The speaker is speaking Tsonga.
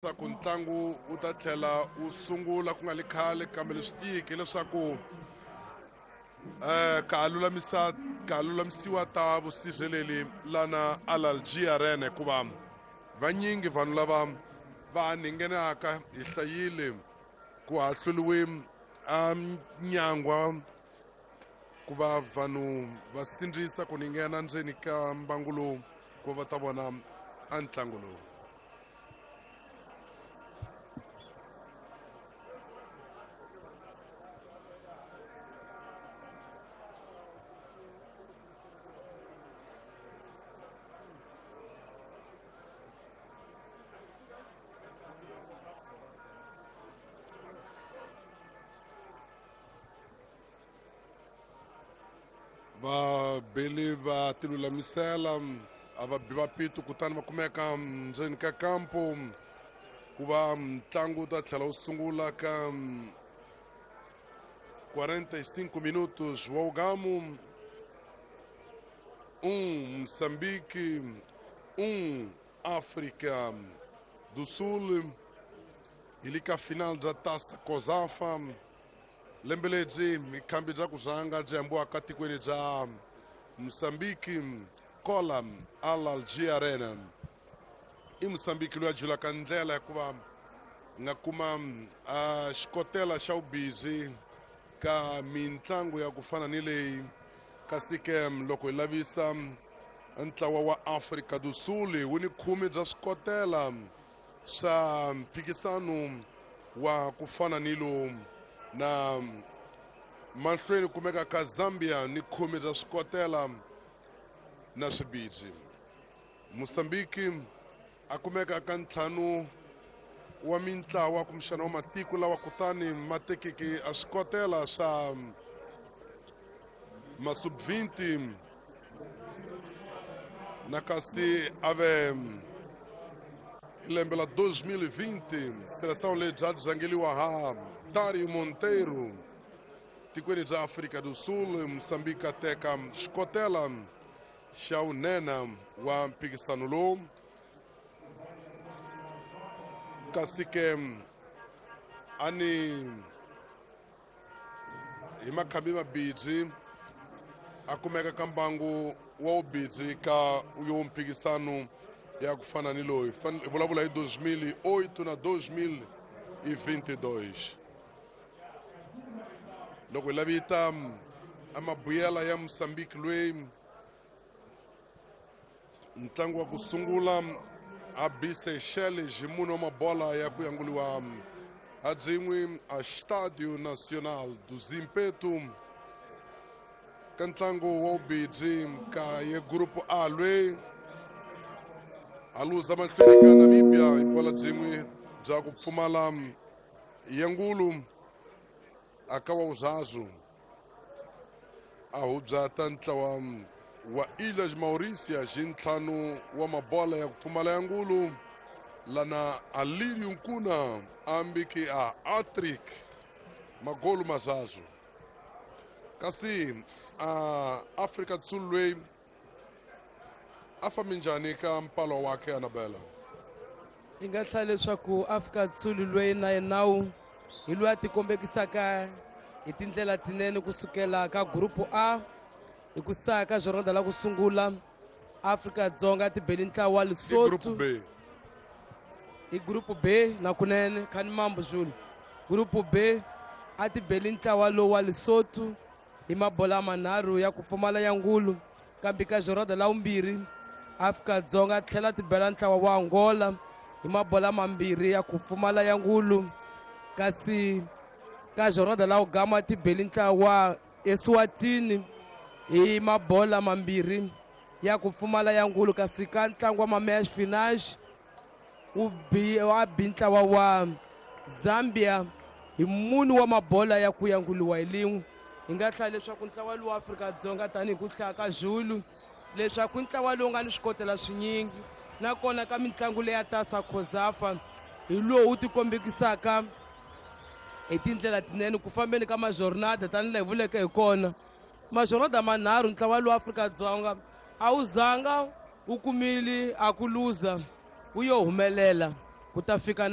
Leswaku ntlangu wu ta tlhela wu sungula ku nga li khale, kambe leswi tiyiki hileswaku ka ha lulamisa ka ha lulamisiwa ta vusirheleli lana Alalji Arena, hikuva vanyingi vanhu lava va ninghenaka hi hlayile ku hahluriwe a nyangwa ku va vanhu va sindzisa ku ninghena ndzeni ka mbangu lowu ku va ta vona a ntlangu lowu. Vabeli va tilulamisela a va bi va pito, kutani va kumeka ndzeni ka kampo ku va ntlangu wu ta tlhela wu sungula ka 45 minutos. Wa ugamu 1 Moçambique 1 África do Sul, hi le ka final bya Taça COSAFA lembe lebyi mikhambi bya ku rhanga byi hambiwaka tikweni bya Mozambique kola Alalji Arena. I Mozambique loyi a julaka ndlela hikuva nga kuma a xikotela xa vubizi ka mitlangu ya ku fana ni leyi. Kasi ke loko hi lavisa ntlawa wa Afrika do Sul wu ni khume bya swikotela swa mphikisano wa ku fana ni lowu, na mahlweni kumeka ka Zambia ni khume bya swikotela na swibidzi. Mozambique a kumeka ka ntlhanu wa mintlawa kumbexana wa matiko lawa kutani ma tekeke a swikotela swa masub-20, na kasi ave hi lembe la 2020 seleção leyi bya rhangeliwa ha Dario Monteiro tikweni bya Afrika do Sul. Mozambique a teka xikotela xa vunene wa mphikisano lowu, kasi ke ani hi makhambi mabidzi a kumeka ka mbangu wa vubidzi ka yo mphikisano ya ku fana ni loyi. Hi vulavula hi 2008 na 2022. Loko hi lavita amabuyela ya Mozambique loyi ntlangu wa ku sungula a bi Seychelles hi mune wa mabola ya ku yanguliwa a byin'we a Estádio Nacional do Zimpeto, ka ntlangu wa vubidzi ka ye Grupo A lweyi a luza mahlweni ka Namibia hi bola byin'we bya ku pfumala yangulu a ka wa vuzazwu a hubyata ntlawa wa Ilhas Mauritius hi ntlhanu wa mabola ya ku pfumala ya ngulu, lana Alirio Nkuna a ambiki a atrik magolu mazazu. Kasi a Afrika do Sul loyi a fambi njhani ka mpalo wakhe, Anabela? Hi nga hlaya leswaku Afrika Sul loyi na yenawu hi loyi a tikombekisaka hi tindlela tinene kusukela ka Grupo A. Hi ku saka jornada la ku sungula, Afrika Dzonga tibeli ntlawa wa I Lesotho Group B. Hi Group B na kunene khani mambo Zulu. Group B a tibeli ntlawa lowu wa Lesotho hi mabola manharhu ya ku pfumala ya ngulu, kambe ka jornada la vumbirhi Afrika Dzonga tlhela tibela ntlawa wa Angola hi mabola mambirhi ya ku pfumala ya ngulu, kasi ka jornada la ugama tibeli ntlawa wa Eswatini hi mabola mambirhi ya ku pfumala ya ngulu, kasi ka ntlangu wa ma-match finals wu bi wa bi ntlawa wa Zambia hi mune wa mabola ya ku yanguliwa hi lin'we. Hi nga hlaya leswaku ntlawa lowu wa Afrika-Dzonga, tanihi ku hlaya ka Zulu, leswaku ntlawa lowu nga ni swikotela swinyingi, nakona ka mitlangu leya Tasa COSAFA hi lowu wu tikombekisaka hi tindlela tinene ku fambeni ka majornada. Tanihi laha hi vuleke hi kona, majornada manharhu ntlawa lowu Afrika-Dzonga a wu zanga wu kumile a ku luza, wu yo humelela ku ta fika.